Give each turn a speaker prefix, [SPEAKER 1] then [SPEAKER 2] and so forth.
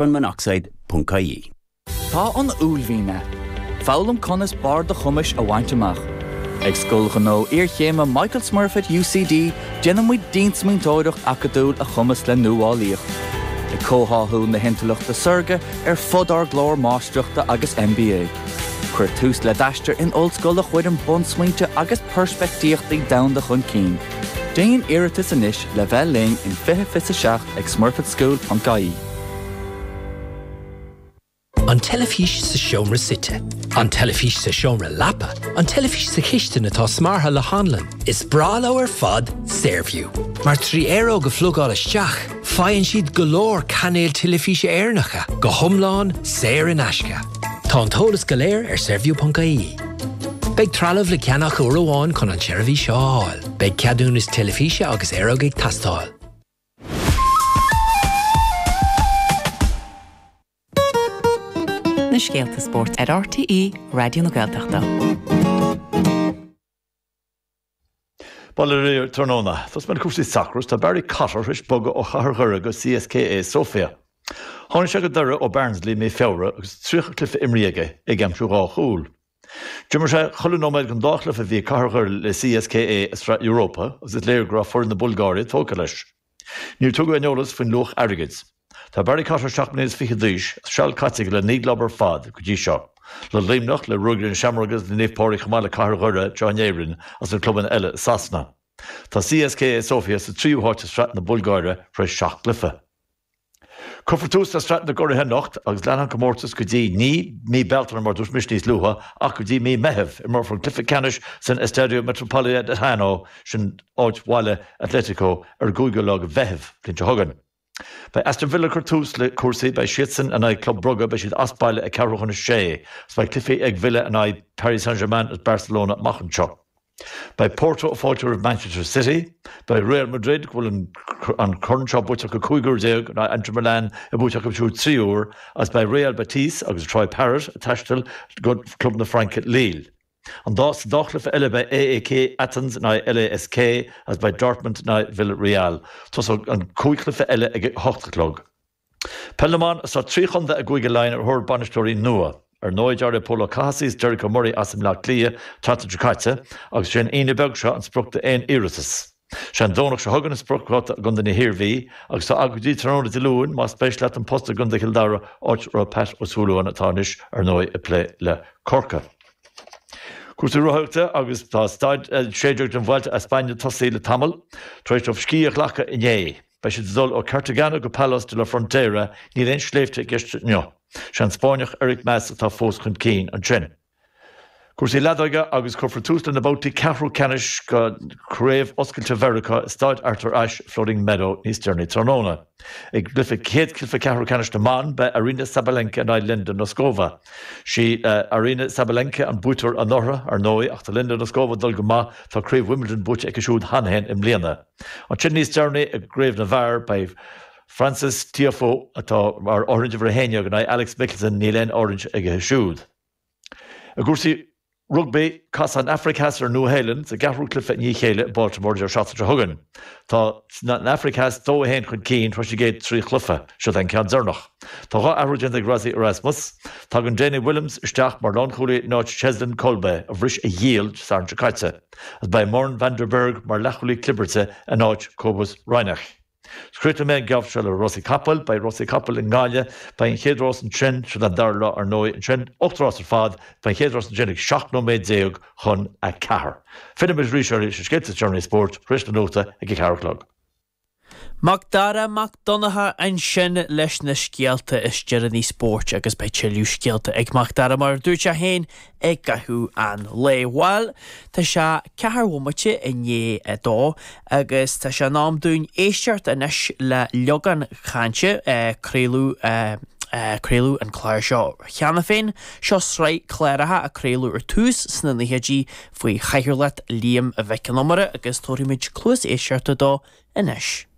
[SPEAKER 1] Carbonmonoxide.ie.
[SPEAKER 2] Tá an uaillmhian ann. Foghlaim conas barr do chumais a bhaint amach. Ag Scoil Ghnó Iarchéime Michael Smurfit UCD déanann muid diansmaointeoireacht acadúil a chumasc le nuálaíocht. Ag comhtháthú na hintleachta saorga ar fud ár gclár Máistreachta agus MBA. Cuir tús le d'aistear in ollscoil a chuireann bunsmaointe agus peirspictíochtaí domhanda chun cinn. Déan iarratas anois le bheith linn in 2027 ag smurfitschool.ie.
[SPEAKER 3] An teilifís sa seomra suite. An teilifís sa seomra leapa. An teilifís sa chistin atá smeartha le hanlann. Is breá leo ar fad Saorview. Mar 3 aeróg a phlugáil isteach, faigheann siad go leor cainéil teilifíse Éireannacha, go hiomlán saor in aisce. Tá an t-eolas go léir ar saorview.ie. Beidh trealamh le ceannach uair amháin chun an tseirbhís seo a fháil. Beidh ceadúnas teilifíse agus aeróg ag teastáil.
[SPEAKER 4] Na scéalta spóirt ar RTÉ Raidió na Gaeltachta.
[SPEAKER 5] Bail ó Dhia oraibh tráthnóna. Tosóidh mé le cúrsaí sacair agus tá Barry Cotter tar éis bogadh ó Chathair Dhoire go CSKA Sofia. Tháinig sé go Doire ó Barnsley i mí Feabhra agus 30 cluiche imrithe aige, é ag aimsiú dhá chúl. D'imir sé chuile nóiméad den dá chluiche a bhí ag Cathair Dhoire le CSKA i Sraith Europa agus is léir go raibh foireann na Bulgáire tógtha leis. Níor tugadh aon eolas faoin luach airgid. Tá Barry Cotter 7 mbliana is fiche d'aois agus seal caite aige le 9 gclub ar fad go dtí seo, le Luimneach, le Ruagairí na Seamróige agus le Naomh Pádraig chomh maith le Cathair Dhoire anseo in Éirinn agus na clubanna eile i Sasana. Tá CSKA Sofia sa tríú háit i Sraith na Bulgáire tar éis 7 gcluiche. Cuirfear tús le Sraith na gCuraithe anocht agus leanfaidh an comórtas go dtí, ní mí Bealtaine mar a dúirt mise níos luaithe, ach go dtí mí Meitheamh. Imreofar an cluiche ceannais san Estadio Metropolitano, sin áit bhaile Atletico, ar an gcúigiú lá de Mheitheamh, bliain seo chugainn. Beidh Aston Villa ag cur tús le cúrsaí, beidh siadsan in aghaidh Club Brugge, beidh siad as baile ag ceathrú chun a sé, agus beidh cluichí ag Villa in aghaidh Paris Saint-Germain agus Barcelona amach anseo. Beidh Porto ag fáiltiú roimh Manchester City, beidh Real Madrid, go bhfuil an corn seo buaite acu 15 uair, in aghaidh Inter Milan, é buaite acu siúd 3 uair, agus beidh Real Betis agus Troy Parrott ag taisteal go club na Fraince Lille. An dá, sa dá chluiche eile beidh AEK Athens in aghaidh LASK agus beidh Dortmund in aghaidh Villarreal. Tosóidh an 5 chluiche eile ag a hocht a chlog. Peil na mBan, Tá 3 chontae i gCúige Laighean ar thóir bainisteoirí nua. Ar ndóigh, d'éirigh Pól Ó Cathasaigh is Derek O'Murray as i mBleá Cliath an tseachtain seo caite agus sé an Aoine beag seo an sprioc d'aon iarratas. Sé an Domhnach seo chugainn an spriocdháta i gContae na hIarmhí agus tá agat go dtí tráthnóna Dé Luain más spéis leat an post i gContae Chill Dara áit a raibh Pat Ó Súilleabháin atá anois ar ndóigh ag plé le Corcaigh. Cúrsaí rothaíochta agus tá staid 16 den Vuelta a España tosaithe le tamall. Tar éis dóibh scíth a ghlacadh inné, beidh siad ag dul ó Cartagena go Palos de la Frontera, níl aon sléibhte i gceist inniu. Sé an Spáinneach Enric Mas atá fós chun cinn ansin. Cúrsaí leadóige agus cuirfear tús le na babhtaí ceathrú ceannais de Chraobh Oscailte Mheiriceá i Staid Arthur Ashe, Floating Meadow níos deireanaí tráthnóna. I gcluiche chéad chluiche ceathrú ceannais na mban, beidh Aryna Sabalenka in aghaidh Linda Noskova. Sí Aryna Sabalenka an buaiteoir anuraidh, ar ndóigh, ach tá Linda Noskova ag dul go maith, tá Craobh Wimbledon buaite aici siúd cheana féin i mbliana. Ansin níos deireanaí i gcraobh na bhfear, beidh Frances Tiafoe, atá mar áirithint uimhir a 11, in aghaidh Alex Michelsen, níl aon áirithint aige siúd. I gcúrsaí rugbaí, casfaidh an Afraic Theas ar an Nua-Shéalainn sa gceathrú cluiche i ndiaidh a chéile i Baltimore an deireadh seachtaine seo chugainn. Tá an Afraic Theas 2-1 chun cinn tar éis na gcéad 3 chluiche. Seo é an ceann deireanach. Tá 2 athrú déanta ag Rassie Erasmus. Tagann Dane Williams isteach mar lánchúlaí in áit Cheslin Kolbe, a bhris a ghiall Dé Sathairn seo caite, agus beidh Morne van der Berg mar leathchúlaí clibirte in áit Cobus Reinach. Críochnóidh mé an geábh seo le rásaí capaill. Beidh rásaí capaill i nGaillimh. Beidh an chéad rás ansin, sin an dara lá ar ndóigh, ansin, 8 rás ar fad. Beidh an chéad rás ansin ag 17 nóiméad chun a 4. Fillfidh muid arís ar na scéalta is deireanaí spóirt tar éis na nuachta ag a 4 a chlog.
[SPEAKER 6] Mac Dara Mac Donncha ansin leis na scéalta is deireanaí spóirt agus beidh tuilleadh scéalta ag Mac Dara mar a dúirt sé féin i gcaitheamh an lae. Bhuel, tá sé ceathair bhomaite i ndiaidh a dó agus tá sé in am dúinn éisteacht anois le Leagán Cainte. Craoladh craoladh an clár seo cheana féin. Seo sraith cláracha a craoladh ar tús sna naochaidí faoi chathaoirleacht Liam Mhic Con Iomaire agus tabharfaimid cluas éisteachta dó anois.